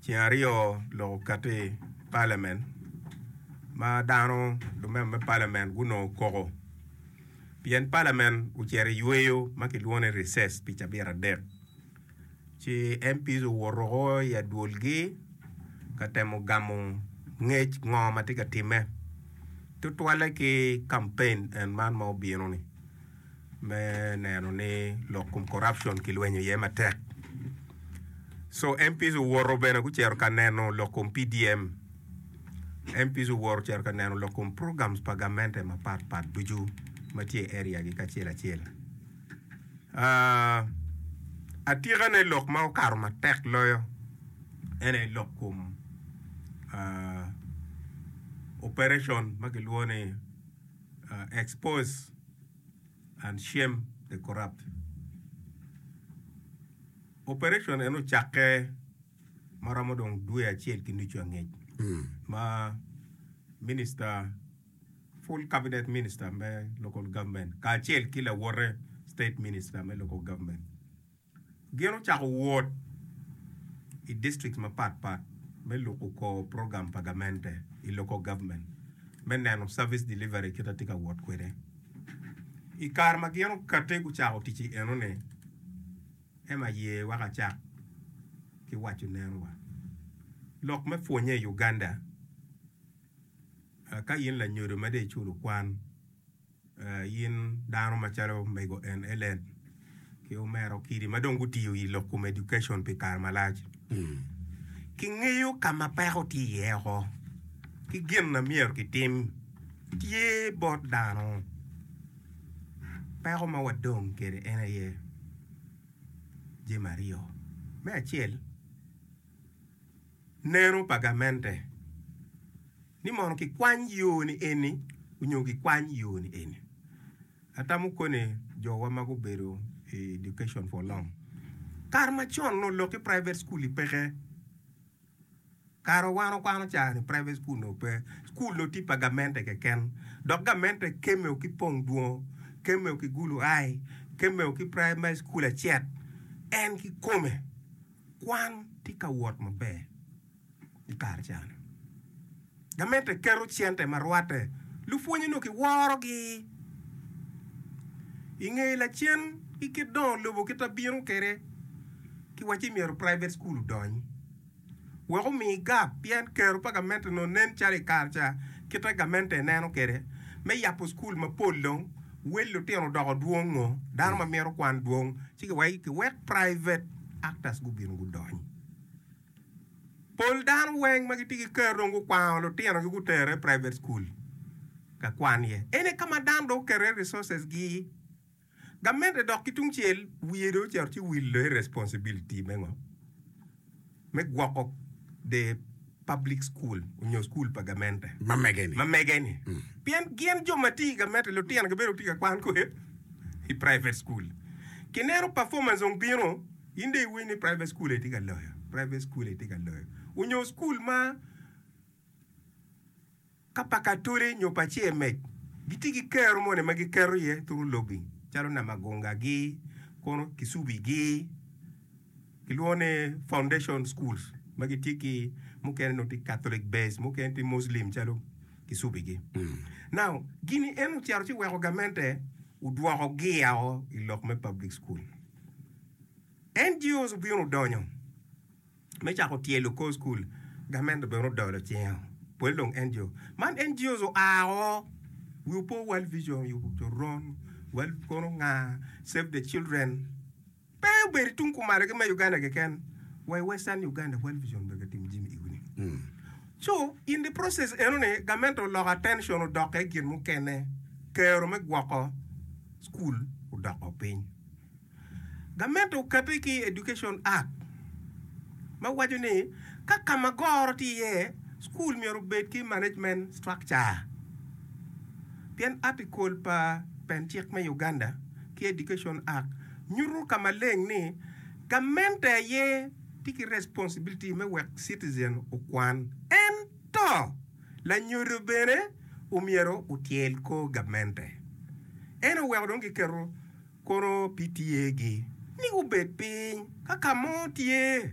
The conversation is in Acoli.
Ceng aryo lok okati i palamen ma dano lumema me palamen gunongo koko pien palamen ocito i yweyo ma kilwongo ni recess pi cabit adek ci MPs owoto woko i adwolgi ka temo gamo ngec ngo ma tye ka timme tutwalle ki kampen en man ma obino-ni. me neno ni lok kom corruption kilwenyo iye matek. So MPs owoto bene gucito ka neno lok kom PDM. MPs owoto ocito ka neno lok kom programs pa gamente mapat pat ducu ma tye i area gi kacel acel. Uh, atikane lok ma okato matek loyo en aye lok kom uh, operation ma kilwongo ni uh, expose and shame the corrupt. Operation eno ocakke ma romo dong dwe acel ki nucu angec ma minister full cabinet minister me local government kacel ki lawote state minister me local government Gin ocako wot i district mapat pat me luko kor program pa gamente i local government me neno service delivery kit ma tye ka wot kwede. I kare ma gin okati gucako tic i enoni, Emma ye wek acak ki waco neno wa lok me pwonye i Uganda ka in lanyodo ma dong iculo kwan. In dano macalo mego en Ellen ki omera Okidi ma dong gutiyo i lok kom education pi kare malac, kingeyo ka ma peko tye iye oko ki gin ma myero kitim tye bot dano. Peko ma wadong kwede en aye jami aryo. Me acel, neno pa gamente ni mono kikwany yo ni eni onyo kikwany yo ni eni. Atamo koni jowa ma gubedo i education for long kare macon onongo lok ki private school i peke. Kare wan okwano ca ni private school onongo pe. School onongo tye pa gamente keken dok gamente keme ki pong dwongo, keme ki gulu ai, keme ki primary school acet en kikome. Kwan tye ka wot maber i kare ca-ni. Gamente keto cente ma rwatte, lupwonye nongo kiworogi. I nge lacen ki kit dongo lobo kit ma bino kwede, kiwacci myero private school odony wek omi gap pien kero pa gamente onongo nen calo i kare ca kit ma gamente neno kwede me yabo cukul mapol dong wel lutino odoko dwongo, dano ma mito kwan dwong ci kiwek private actors gubino gudony. Pol dano weng ma gitye ki kero dong gukwango lutinogi gutero i private school ka kwan iye. Ene ka ma dano dong oketo iye resources gi. Gamente dok ki tungcel wiye dong ocito ci wilo i responsibility me ngo? Me gwoko the public school onyo school pa gamente Ma mege-ni. ma mege-ni. Pien gin jo ma tye i gamente lutinogi bedo tye ka kwan kwede i private school. Kineno performance dong bino In dong iwinyo ni private school aye tye ka loyo, private school aye tye ka loyo. Onyo school ma ka pa Katoli nyo pa CMEC gitye ki kero moni ma giketo iye through lobbying calo Namagunga-gi, kono Kisubi-gi, kilwongo ni foundation schools ma gitye ki mukene nongo tye Catholic based, mukene tye Muslim calo Kisubi-gi. Now gini eno ocito ci weko gamente odwoko gia-o i lok me public school. NGOs obino odonyo me cako tyelo kor cukul, gamente bene odolo cinge pol dong NGO. Man NGOs oa o, wi opo World Vision oyubo coron, World kono nga, Save the Children, pe obedo i tung kumalo ki me Uganda keken, wa i Western Uganda World Vision obedo ka timo jami egoni. So in the process enoni gamente oloko attention odokke i gin mukene, kero me gwoko cukul odoko piny. Gamente okati ki Education Act ma waco ni ka ka ma goro tye iye, cukul myero obed ki management structure. Pien article pa pen cik me Uganda ki Education Act nyuto ka maleng ni gamente aye tye ki responsibility me wek citizen okwan ento lanyodo bene omyero otyel kor gamente. En oweko dong kiketo Kono PTA gi ni gubed piny ka ka mo tye.